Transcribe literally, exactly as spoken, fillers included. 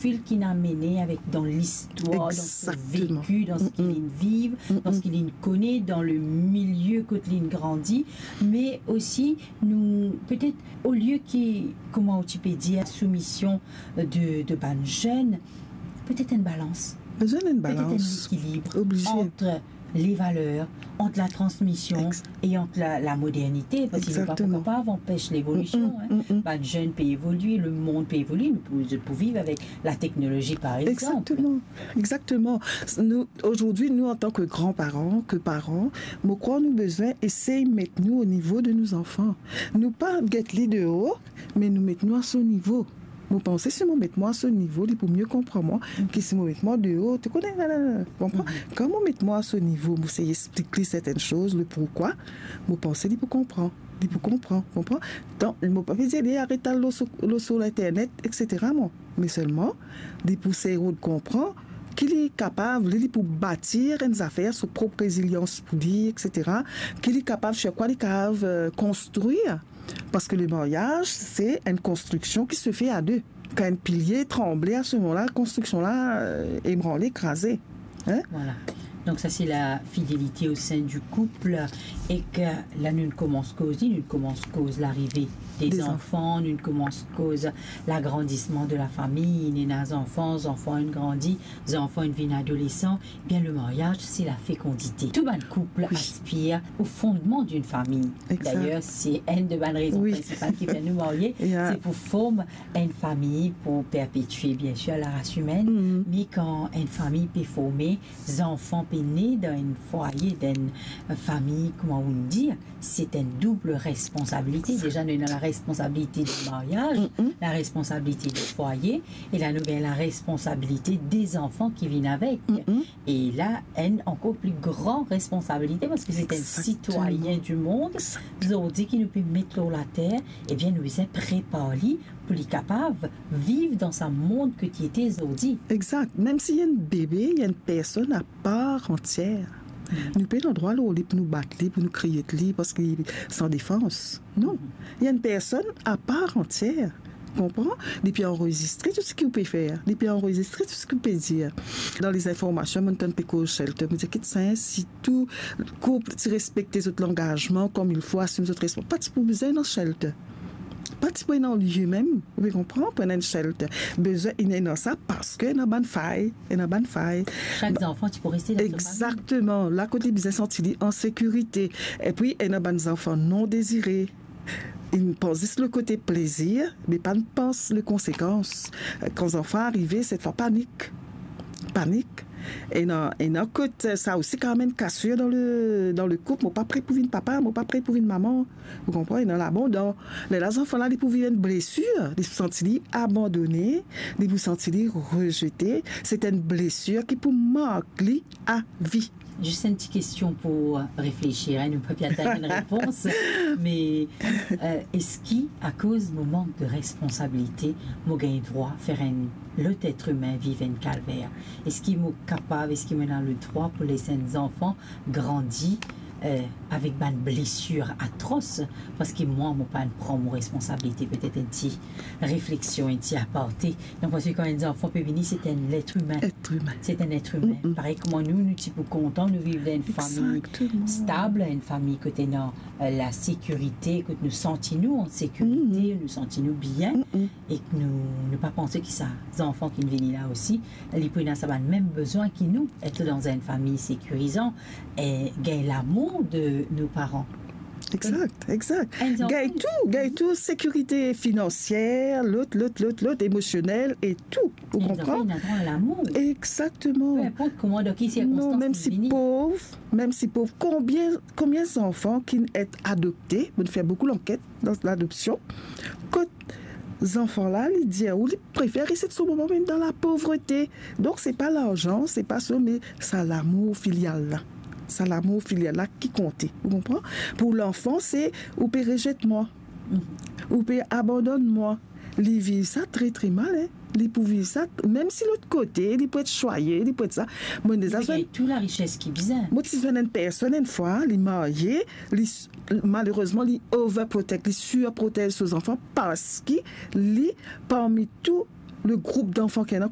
profil ki inn amene avek, dan listwar, dan so veki, dan seki linn viv, dan seki linn kone, dan le milie kot linn grandi, me osi nou, petet, olie ki, kouma ou ti pe dir, soumision de, de bann zenn, petet enn balans. Bizin enn balans. Petet enn lekilib ant levaler, ant latransmision e ant la, lamodernite, parski nou pa pou kapav anpes levolision, hein. Bann zenn pe evolie, lemond pe evolie, nou pou, pou viv avek lateknolozi, par exanp. Exactement. Exactement. Nou, aujourd'hui, nou, antan ke granparan, ke paran, mo krwar nou bizin esey met nou o nivo de nou zanfan. Nou pa get li deor, me nou met nou a so nivo. Mo panse si mo met mwa a so nivo, li pou mie konpran mwa ki si mo met mwa deor, to kone, la, la, la, konpran? Kan mo met mwa a so nivo, mo sey explik li sertenn soz, le pourkwa, mo panse li pou konpran. Li pou konpran, konpran? Donk, mo pa pe dir li aret al lor so, lor so internet, et cetera, mwa. Me selman, li pou sey rod konpran ki li kapav, li, li pou batir enn zafer, so prop rezilians pou li, et cetera. Ki li kapav, sir kwa li kapav, euh, konstrir. Parski le mariaz, se enn konstriksion ki se fe a de. Kan enn pilie tranble, a se moman la, konstriksion la, euh, ebranle, kraze. Hein? Voilà. Donc ça, c'est la fidélité au sein du couple. E ke la, nou koumans koz, nou koumans koz larive de zanfan, nou koumans koz lagrandisman de la fami. Ena zanfan, zanfan inn grandi, zanfan inn vinn adolesan. Bien, le mariage, c'est la fécondité. Tou bann koup aspir au fondement d'une famille. Exact. D'ailleurs, c'est une de bann rezon prinsipal ki fer nou marye, se pou form enn fami, pou perpetie, bien sir, la ras imenn. Me kan enn fami pe forme, zanfan pe ne dan enn fwaye, dan enn fami, kouma ou dir, se enn doub responsabilite. Deza, nou ena la responsabilite di maryaz, la responsabilite di fwaye, e la, nou gagn la responsabilite de zanfan ki vinn avek. E la, enn ankor pli gran responsabilite, parski se enn sitwayin di mond, zordi ki nou pe met lor later, ebien, nou bizin prepar li pou li kapav viv dan sa mond ki li ete zordi. Exact. Mem si enn bebe, enn personn apar antier. Nou pena drwa lor li pou nou bat li, pou nou kriye li, parski li san defans. Non. Enn personn apar antier. Konpran? Li pe anrezistre tou seki ou pe fer. Li pe anrezistre tou seki ou pe dir. Dan lezinformasion, mo'nn tann pe koz shelter. Mo dir, kit sa, si tou koup ti respekte zot langazman comme il faut, asim zot respons-, pa ti pou bizin ena shelter. Pa ti pou ena lie mem, ou pe konpran, pou ena enn shelter. Bizin ena sa parski ena bann fay, ena bann fay. Sak zanfan ti pou reste dan so fami. Exactement. La kot li bizin santi li an sekirite. Epi, ena bann zanfan non dezire. Inn pans zis le kote plezir, me pa'nn pans le konsekans. Kan zanfan arive, set fwa panik. Panik. Ena, ena kot sa osi kapav amenn kasir dan le, dan le koup. Mo pa pre pou vinn papa, mo pa pre pou vinn mama. Ou konpran? Ena labandon. Lerla zanfan la, li pou viv enn blesir, li pou santi li abandone, li pou santi li rezete. Se enn blesir ki pou mark li a vi. Zis enn ti kestion pou, euh, reflesir, hein, nou pa pe atann enn repons, me, euh, eski akoz mo mank de responsabilite, mo gagn drwa fer enn lot et imin viv enn kalver? Eski mo kapav, eski mo ena ledrwa pou les enn zanfan grandi, euh, avek bann blesir atros, parski mwa, mo pa'nn pran mo responsabilite? Petet enn ti refleksion, enn ti aparte. Donk, parski kan enn zanfan pe vini, se enn let imin. Et imin. Se enn et imin. Parey kouma nou, nou ti pou kontan nou viv dan enn fami stab, enn fami kot ena, euh, lasekirite, kot nou santi nou an sekirite, nou santi nou bien, e ke nou, nou pa panse ki sa zanfan ki vinn vini la osi, li pou ena sa bann mem bezwin ki nou, et dan enn fami sekirizan, e gagn lamour de nou paran. Exact, exact. Gagn tou, gagn tou, sekirite finansier, lot, lot, lot, lot, emosionel e tou. Ou konpran? Ena drwa a lamour. Exactement. Pe inport kouma, dan ki sirkonstans li vini. Non, mem si pov, mem si pov, konbien, konbien zanfan ki inn et adopte, mo'nn fer boukou lanket dan ladopsion, kot zanfan la, li dir ou li prefer res et so mama mem dan lapovrete. Donk, se pa larzan, se pa sa, me sa lamour filial la. Sa lamour filial la ki konte. Ou konpran? Pou lanfan, se ou pe rezet mwa. Ou pe abandonn mwa. Li viv sa tre, tre mal, hein. Li pou viv sa, mem si lot kote, li pou et swaye, li pou et sa. Mo deza zwenn tou larises ki bizin. Mo ti zwenn enn personn enn fwa, li marye, li s-, malerezman, li overprotect, li surprotez so zanfan parski li, parmi tou, Le group danfan ki ena